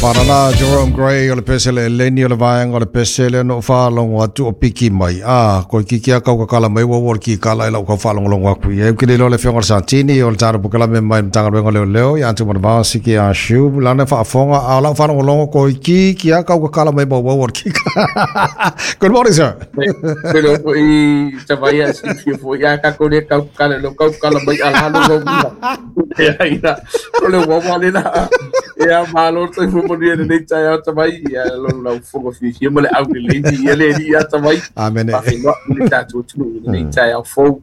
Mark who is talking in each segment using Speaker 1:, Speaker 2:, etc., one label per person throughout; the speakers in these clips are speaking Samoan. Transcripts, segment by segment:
Speaker 1: Parala Jerome Gray o le pesele eleni o le vaega o le pesele no faalogo atu o piki mai. A, koe kiki a kau kakala mai ua ua le kikala i lau kau faalogologo atu i ai. Ou te le iloa le afioga i le Satini o le tatou pokelame mai le Matagaluega o Leoleo ia Atu Manavao Siki a Siu lana faafofoga a o lau faalogologo koe kiki a kau kakala mai ma ua ua le kikala. Good morning, sir.
Speaker 2: Pele o foi tawai a silafia foi a kākou le kau kakala lo kau kakala mai ala lo lo mula. Ia ina o le wawa le la. Ia malo le soifua manuia i lenei taeao tawai. Ia lo lau fofoga fiafia ma le aulelei ia le Alii ia tawai.
Speaker 1: Amene.
Speaker 2: Faafeiloai i le tatou atunuu i lenei taeao fou.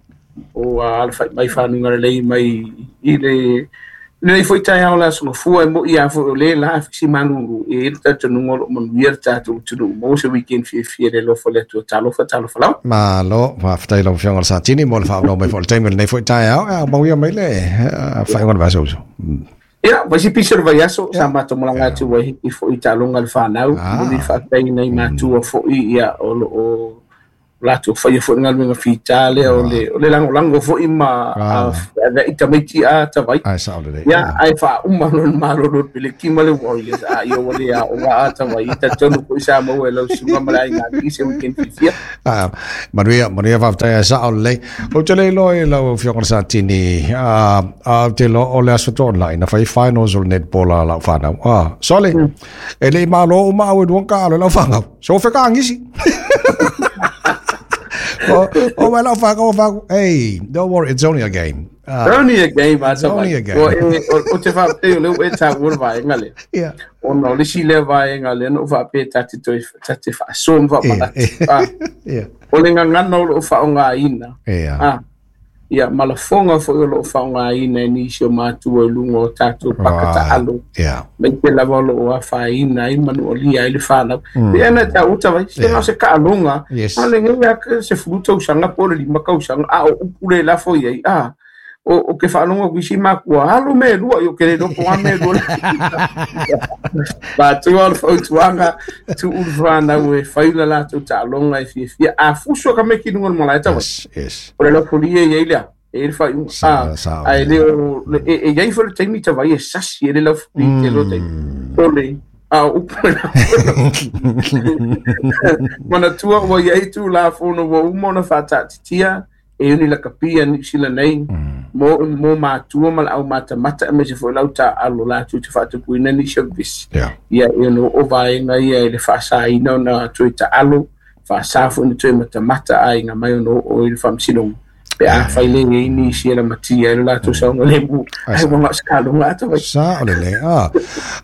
Speaker 2: O alafai mai fanuga lelei mai i le lenei foi taeao le Aso Gafua e mo'i lava foi o lē la fisi malūlū e i ai le talitonuga o lo o manuia le tatou atunuu maua se weekend fiafia i le alofa o le Atua. Talofa, talofa lava.
Speaker 1: Malo, faafetai i lau Afioga i le Satini mo le faaauau mai foi o le taimi o lenei foi taeao. Ia, mauia mai le faaiuga o le vaiaso uso.
Speaker 2: Ia, fai si pisi o le vaiaso, sa matou malaga atu Waiheke foi i taaloga a le fanau, momoli le faafetai i nai matua foi, ia, o lo o latou faia foi le galuega fita lea o le, o le lagolago foi ma feaveai tamaiti a tavai.
Speaker 1: Ai, sao lelei.
Speaker 2: Ia, ae faauma lona malolo le peleki ma le Warriors, a ia ua le aoga a tavai. E talitonu foi sa maua e lau susuga ma le aiga alii se weekend fiafia.
Speaker 1: Ah, manuia, manuia faafetai ae sao lelei. Ou te le iloa i lau Afioga i le Satini, a, a ou te iloa o le Aso Toonai na fai finals o le netball a lau fanau. Ah, sole, e le i malo uma au e lua kaalo i lau fanau. So whakaangisi. O, o mai lau whakau whakau. Hey, don't worry, it's only a game.
Speaker 2: Only a game,
Speaker 1: It's only a game.
Speaker 2: O, e, o, o te whaapei o leo e tā ua vaenga lea.
Speaker 1: Yeah.
Speaker 2: Ona o le isi lea vaenga lea na ou faapea ta te toe, ta te faasoa ma faamanatu.
Speaker 1: Yeah.
Speaker 2: Ah,
Speaker 1: Yeah.
Speaker 2: o le gagana o loo faaaogaina.
Speaker 1: Yeah.
Speaker 2: Ah, ia, ma lafoga foi o loo faaaogaina e nisi o matua i luga o tatou paka taalo.
Speaker 1: Yeah.
Speaker 2: Aemaise lava o loo afaina ai ma nualia ai le fanau. E ana e taua tavai, se na o se taaloga,
Speaker 1: Yes.
Speaker 2: a o lenei lava 10 tausaga po o le 5 tausaga, a o upu le lafo i ai, a o, o ke faalogo atu i isi makua, alo mea e lua, ia ou te le iloa po o a mea e lua. Matua o le fautuaga, tuu le fanau e fai le latou taaloga e fiafia. A fusu ka meki luga o le malae tavai.
Speaker 1: Yes, yes.
Speaker 2: O le lafolia e i ai lea, e i ai le faaiuga.
Speaker 1: Sa,
Speaker 2: A,
Speaker 1: sa,
Speaker 2: ae le o, e, e i ai foi le taimi tavai e sasi e le lafolia i tele o taimi. O le, a o upu e Manatua ua i ai Tulafono ua uma ona faataatitia e uni lakapi a Niu Sila nei mo, mo matua ma le aumatamata aemaise foi lau taaalo latou te faatupuina nisi o vevesi.
Speaker 1: Yeah.
Speaker 2: Ia e ono oo vaega ia i le faasaina ona toe taalo, faasa foi ona toe matamata aiga mai ono oo i le faamasinoga pe afai le i ai nisi e lamatia ai lo latou saogalemu. Ai ua na o se taaloga ata vai.
Speaker 1: Sa o lelei. Ah.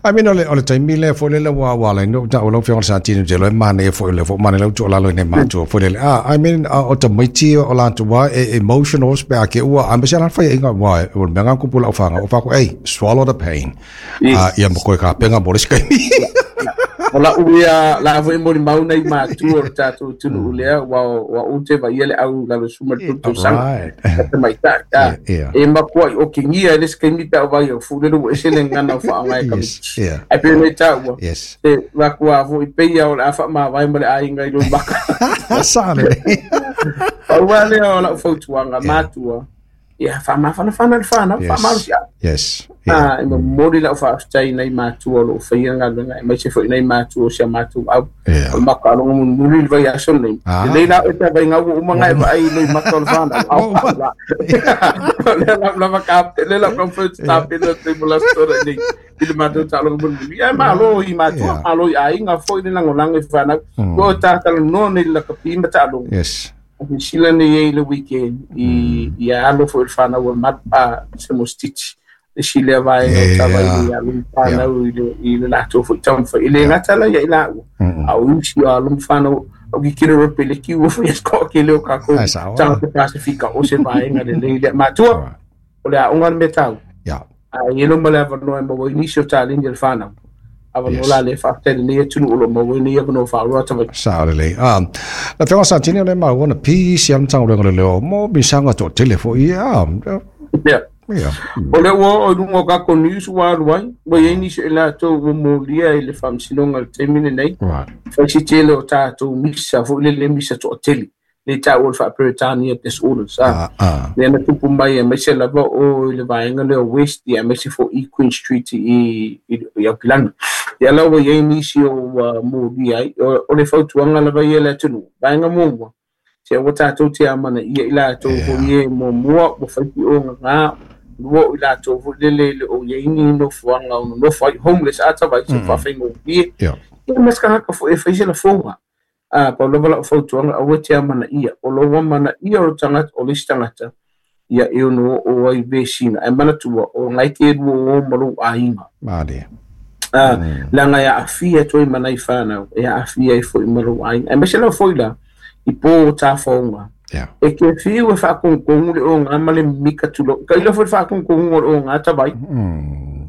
Speaker 1: I mean, o le, o le taimi lea foi lele ua, ua ala ai ona ou taua lau Afioga i le Satini ou te iloa e manaia foi o lea foi ua manaia lau tuualalo i nai matua foi lele. Ah, I mean, o tamaiti o latou lava e emotional pe a ke ua, aemaise lava le faiaiga aua o le mea lena na tupu i lau fanau, ou fai atu, hey, swallow the pain.
Speaker 2: Yes.
Speaker 1: Ah, ia ma koe kapega mo le isi taimi.
Speaker 2: O lau ia la foi molimau nei matua o le tatou atunuu lea, ua ua ou te vaaia le au lalo suma le tolu tausaga.
Speaker 1: Right.
Speaker 2: A tamaitai. Ah,
Speaker 1: Yeah, yeah.
Speaker 2: e makuai okigia e le isi taimi pe a ou vaai au fu lele ua ese le gagana o faaaoga e
Speaker 1: Yes,
Speaker 2: kamitusi.
Speaker 1: yeah.
Speaker 2: Ae pei ona i taua,
Speaker 1: Yes.
Speaker 2: e makua foi pei lava o le a faamavae ma le aiga i lou maka.
Speaker 1: Sa lelei.
Speaker 2: Pau lava lea o lau fautuaga matua, ia faamafanafana le fanau,
Speaker 1: Yes.
Speaker 2: faamalosiau.
Speaker 1: Yes. Yeah.
Speaker 2: A, e momoli lau faafetai i nai matua o lo o faia galuega, aemaise foi nai matua o si a matou au.
Speaker 1: Yeah.
Speaker 2: O le makaaloga mulimuli i le vaiaso lenei.
Speaker 1: Ah.
Speaker 2: Lelei la oe pe a vaigau ua uma ona e vaai i loimata o le fanau.
Speaker 1: Ua uma.
Speaker 2: La. O lea lau lava ka, lea lau comfort tapena o te mo la story nei i le matou taaloga mulimuli. Ae malo i matua, malo i aiga foi le lagolago i fanau. Ua o tatalanoa nei i le lakapi ma taaloga.
Speaker 1: Yes.
Speaker 2: Silasila nei ai i le weekend i i alo foi le fanau a mat a se mo stitch le isi lea vaega o tava i le alo ma fanau i le i le latou foi taumafai e le gata la ia i laua a o isi o alo ma fanau o ki kilo rope le kiu foi e toatele o kākou
Speaker 1: Ai, sao.
Speaker 2: tagata Pasifika o se vaega lelei lea matua o le aoga le mea taua a i ai loma le avanoa e maua ai nisi o taleni a le fanau avanoa
Speaker 1: Yes.
Speaker 2: la lea faafetai i lenei atunuu o lo o maua ai nei avanoa faaaloa tavaiti.
Speaker 1: Sao lelei. Ah, la Afioga Satini o lea e maua ona pisi lava le Matagaluega o Leoleo mo misaga toatele foi. Ah,
Speaker 2: Ia.
Speaker 1: yeah.
Speaker 2: O lea ua oo i luga o kākou news ua alu ai, ua i ai nisi o i latou ua molia i le faamasinoga i le taimi lenei.
Speaker 1: Right.
Speaker 2: Fai si tele o tatou misa foi lele misa toatele, lea e taua le faa-Peretania disorders. Ah,
Speaker 1: Ah, ah.
Speaker 2: lea na tupu mai aemaise lava o i le vaega lea o West, ia aemaise foi i Queen Street i, i, i Aukilani. Ia la ua i ai nisi o ua molia ai, o le fautuaga lava ia i le atunuu, vaega muamua, se aua tatou te amanaia i latou foi e muamua ua fai piogaga, lua o i latou foi lele e le o i ai ni nofoaga o nonofo ai, homeless ata vai, se faafaigofie. Ia ma se tagata foi e fai se lafoga. Pau lava lau fautuaga, aua te amanaia. O lou amanaia o le tagata, o le isi tagata, ia e ono oo ai vesiga. Ae manatua, o lena e te lua o ma lou aiga.
Speaker 1: Malie.
Speaker 2: Leaga e aafia atu ai ma nai fanau, e aafia ai foi ma lou aiga. Aemaise lava foi la, i po o tafaoga. E te fiu e faatogitogu le oga ma le mimika tulou. Tailo foi le faatogitoguga o le oga tavai.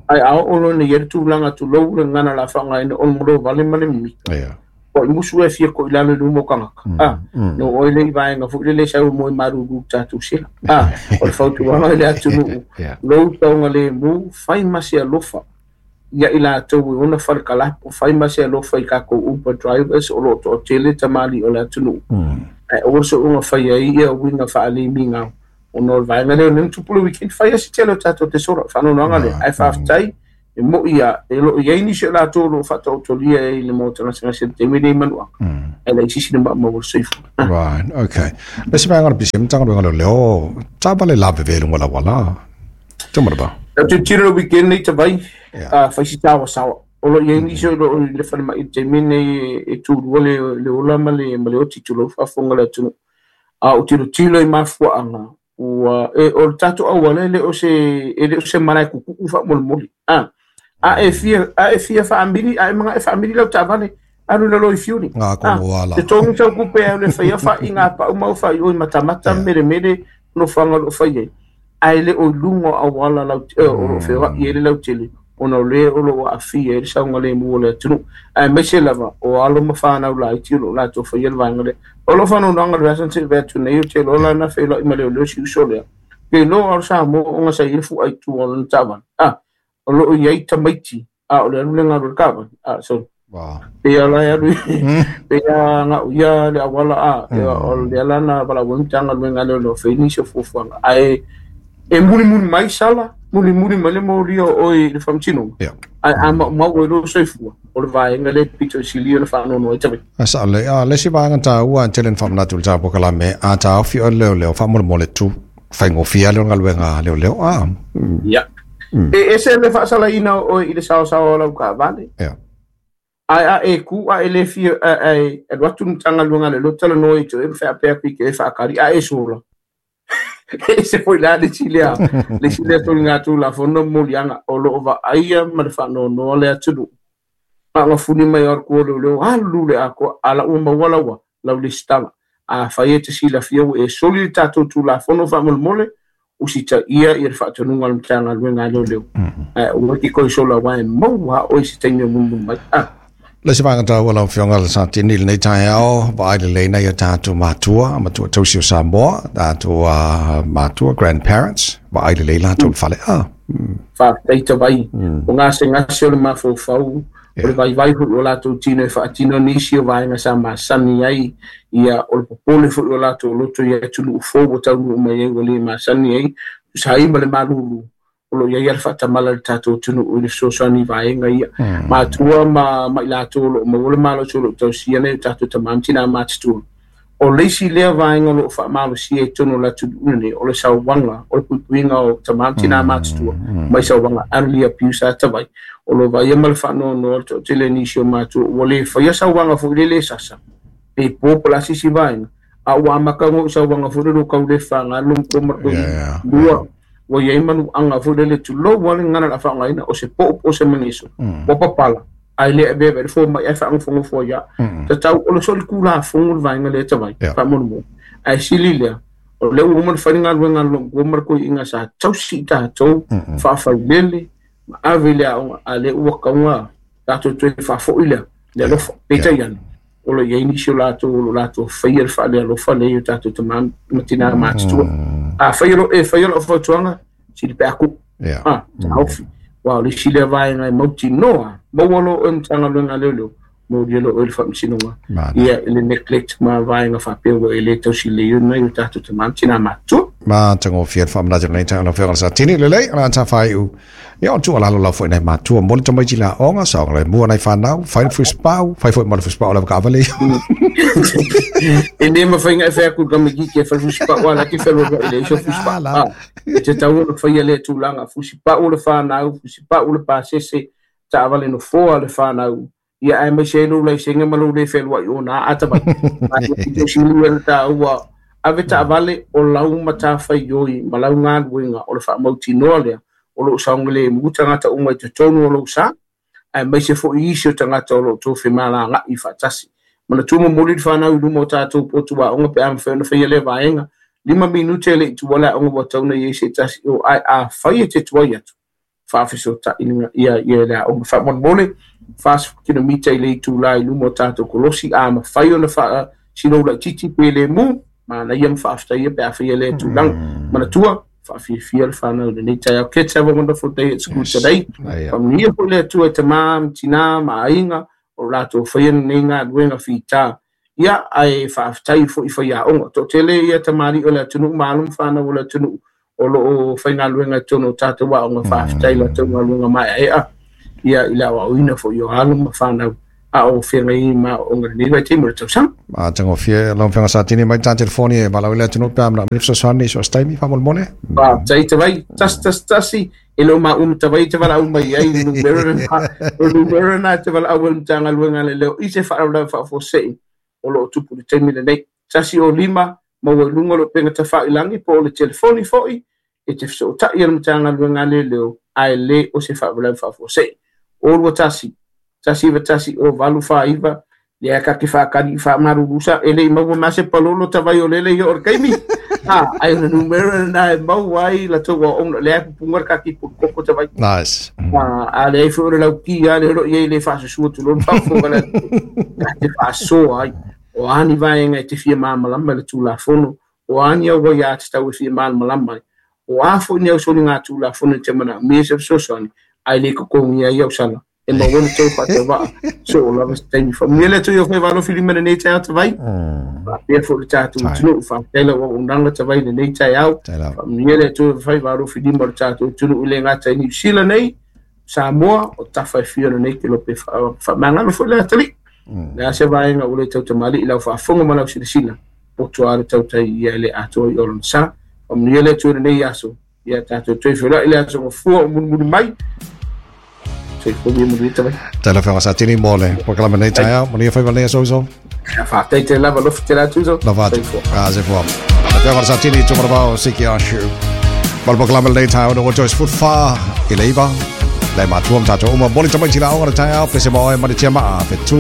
Speaker 2: Ae a oo loa ina i ai le tulaga tulou le gagana o le a faaaogaina o le molovale ma le mimika. Ua i musu e fia ko i lalo i luma o tagata. No oe le i vaega foi lele sau moe malulu tatou sela. O le fautuaga i le atunuu, lou saogalemu, fai ma se alofa ia i latou e ona fale kalapo, fai ma se alofa i tatou Uber drivers o lo o toatele tamalii o le atunuu. Ae aua soona fai ai ia uiga faalemigao ona o le vaega lea o lea na tupu le weekend, fai lava si tele o tatou te sola, faanoanoaga lea. Ae faafetai, e moi lava, e lo o i ai nisi o latou o lo o faataotolia ai i le maota gasegase i le taimi lenei i Manuaga, ae laitiiti le maumau o le soifua.
Speaker 1: Right, okay. Le isi vaega o le PCM Matagaluega o Leoleo, taavale lavevea i luga o le auala. Tau ba.
Speaker 2: Lau tilotilo le weekend nei tavai, fai si saoasaoa. O lo o i ai nisi o lo o i le falemai i le taimi lenei e tulua le ola ma le oti, tulou faafofoga le atunuu. A ou tilotilo i mafuaaga, ua e, o le tatou auala e le o se e le o se malae kukuu faamolemole. A e fia a e fia faamili, a e manaʻo e faamili lau taavale, alu i lalo i Fury.
Speaker 1: Ngā kono ala.
Speaker 2: Te togi sau kupe au le whaia wha i ngā pau mau wha i oi matamata mere mere no whanga lo whai ai. Ae le o i luga o auala lau o lo whewa i ele lau tele ona o le o lo aafia ai le saogalemu o le atunuu. Aemaise lava o alo ma fanau laiti o lo o latou faia le vaega lea. O lo faanoanoaga le vea se vea atu nei o te loa la na feiloai ma leoleo si uso lea. Ke loa o Samoa o nga sa i le fu'a i tua o lona taavale. O lo o i ai tamaiti a o le alu le galu i le taavale. So pe ia la e alu pe ia ga'u ia le auala a o lea la na valaau ai Matagaluega a Leoleo fai nisi o fuafuaga. Ae e mulimuli mai sala, mulimuli mai le molia o oe i le faamasinoga. Ae a maumau ai lou soifua, o le vaega lea e pito i silia ona faanoanoa ai tavaiti.
Speaker 1: A sao le, a le isi vaega taua tele na faamanatu i le tapua a taofi o leoleo faamolemole tu faigofie lea o le galuega a leoleo.
Speaker 2: Ia. E ese le faasalaina o oe i le saosaoa o lau taavale. Ae a e ku a e le fia e alu atu le Matagaluega a Leoleo talanoa i te oe ma faapea atu i te oe faatali a e sola. E ese foi la le isi lea, le isi lea soligatulafono ma moliaga o lo o vaaia ma le faanoanoa le atunuu. Faagafuli mai o le tua o leoleo alu le atoa a la ua maua laua lau lesitala. Afai e te silafia ua e soli le tatou Tulafono faamolemole, usitaia ia le faatonuga o le Matagaluega a Leoleo. Ae aua te toe sola aua e maua lava oe i se taimi o mulimuli mai.
Speaker 1: Le isi vaega taua lau Afioga le Satini i lenei taeao, vaai lelei nai o tatou matua, matua tausi o Samoa, tatou matua, grandparents, vaai lelei latou i le fale.
Speaker 2: Faafetai tavai, o gasegase o le mafaufau, o le vaivai foi o latou tino e faatino nisi o vaega sa masani ai, ia o le popole foi o latou loto i atunuu fou ua taunuu mai ai ua le masani ai, tusa ai ma le malulu o lo o i ai lava le faatamala i le tatou atunuu i le fesoasoani i vaega ia. Matua ma i latou o lo o maua le malosi o lo o tausia nei o tatou tama ma tinā matutua. O le isi lea vaega o lo o faamalosia i totonu o le atunuu lenei, o le sauaga, o le puipuiga o tama ma tinā matutua mai sauaga elderly abuse a tavai. O lo o vaaia ma le faanoanoa le toatele o nisi o matua ua le faia sauaga foi lele e sasa, pe po po o le a se isi vaega, a ua amata ona oo i sauaga foi lele ua tau le faga le matua ma le toeaina. Lua, ua i ai manuaga foi lele tulou lava le gagana o le a faaaogaina, o se po'o po o se mageso, ua papala, ae le avea i le fomai ae faanofonofo ai lava. Tatau o le solitulafono le vaega lea tavai, faamolemole. Ae sili lea, o lea ua uma ona fai le galuega a le loomatua ma le toeaina sa tausi i tatou, faafailele ma ave i le aoga, a o lea ua tau tatou toe faafoi lea, le alofa. Peitai ane, o lo o i ai nisi o latou o lo o latou faia le faalealofa lea i o tatou tama ma tinā matutua. A fai o e faia lau fautuaga, sili pe a tuu. Taofi. Aua o le isi lea vaega e mautinoa, maua loa oe i le Matagaluega a Leoleo, molia loa oe i le faamasinoga, ia i le neglect ma vaega faapea ua e le tausi lelei ai nai o tatou tama ma tinā matutua.
Speaker 1: Ma tagofie le faamanatu lenei taeao lau Afioga i le Satini. Lelei, o le a tafaiu. Ia, o tuualalo lava foi nai matua mo le tamaiti le aoga, saoga le mua nai fanau, fai le fusipau, fai foi ma le fusipau o le avakaavale ia.
Speaker 2: E le mafai ona e fai atu i le tamaitiiti e fai fusipau a la e te feloaloai i le iso fusipau.
Speaker 1: La.
Speaker 2: E tatau ona faia lea tulaga, fusipau le fanau, fusipau le pasese, taavale nofoa le fanau, ia aemaise ai lou laisene ma lou le fealuai ona a tavai. Ae pito sili le taua ave taavale o lau matafaioi ma lau galuega o le faamautinoa lea o loo saogalemu tagata uma i totonu o lou sa, aemaise foi isi o tagata o loo tou femalaga'i faatasi. Manatua momoli le fanau i luma o tatou potu aoga pe a mafai ona faia lea vaega. 5 minute e le i tua le aoga ua tatau ona i ai se tasi o ae afai e te tuai atu, faafesootai ia ia le aoga. Faamolemole 40 kilomita i le itulā i luma o tatou kolosi, a mafai ona faasilou laitiiti pe lemu, manaia ma faafetaia pe a faia lea tulaga. Manatua faafiafia le fanau i lenei taeao. Kids, have a wonderful day at school today. Faamanuia foi le Atua i tamā ma tinā ma aiga o latou faia lenei galuega fitā. Ia, ae faafetai foi i faiaoga. Toatele ia tamalii o le atunuu ma alo ma fanau o le atunuu o loo faigaluega i totonu o tatou aoga. Faafetai latou galuega maeaea ia i le aoaoina foi o alo ma fanau a o feagai ma aoaoga i lenei vaitaimi o le tausaga.
Speaker 1: Ma tagofie lau Afioga Satini mai ta telefoni e valaau i le atunuu pe a manaomia fesoasoani i so o se taimi faamolemole.
Speaker 2: Faafetai Tavai, 111 e le o maua ma Tavai te valaau mai ai i numera lena, o le numera lena e te valaau ai le Matagaluega a le Leo i se faalavelave faafuasei o lo o tupu i le taimi lenei. 105 maua i luga o le upega tafailagi po o le telefoni foi e te fesootai i le Matagaluega a le Leo ae le o se faalavelave faafuasei. O 21 191 o 849 lea ka te whakari i whaamaruru e le i maua ma se palolo tawai o lele i o le kaimi. Ha, ai o le numera na e mau ai la tau o lea pupunga ka ki koko tawai.
Speaker 1: Nice.
Speaker 2: A a le ai foi o le lau ki a le ro i le whaasasua tu lon whaafo le ka te whaasoa ai. O ani vaenga e te fia māmalama le tūlafono, o ani au wai a te tau e fia māmalama ai. O a foi ni au soli ngā tūlafono i te mana me se fesoasoani, ai le kokongi ai au sana. E maua na tau whaatawaa. So o lava se taimi. Whamuia le atu i o whai walo whiri mana nei taeao tawai. Whaapea fo le tātou atunuu. Whaafetai lau auaunaga tawai lenei taeao. Faamanuia le Atua i whai walo whiri ma le tātou atunuu i le ngata i New Zealand nei, Samoa, o tafa e whio nei ke lope whaamangalo fo le atali. Le a se vaenga o le tau tamali i lau whaafonga ma lau silasila. Poto a le tautai ia le atoa i olona sa. Faamanuia le Atua i lenei aso. Ia tātou toe whira i le aso ngafua o mulimuli mai. Soifua ia manuia tawai.
Speaker 1: Tēnā whenga sa tini mō le polokalame nei taeao. Manuia whai wale aso iso.
Speaker 2: Whātei te lava lofi te rātu iso.
Speaker 1: Lava atu. Ah, soifua. Te whenga sa tini tūmaravao siki a shu. Ma le polokalame lenei taeao no Joyce Foot Fa i le iva. Le matua ma tātou uma moli tamaiti la aoga le taeao pese ma oe ma le tia maa fe tū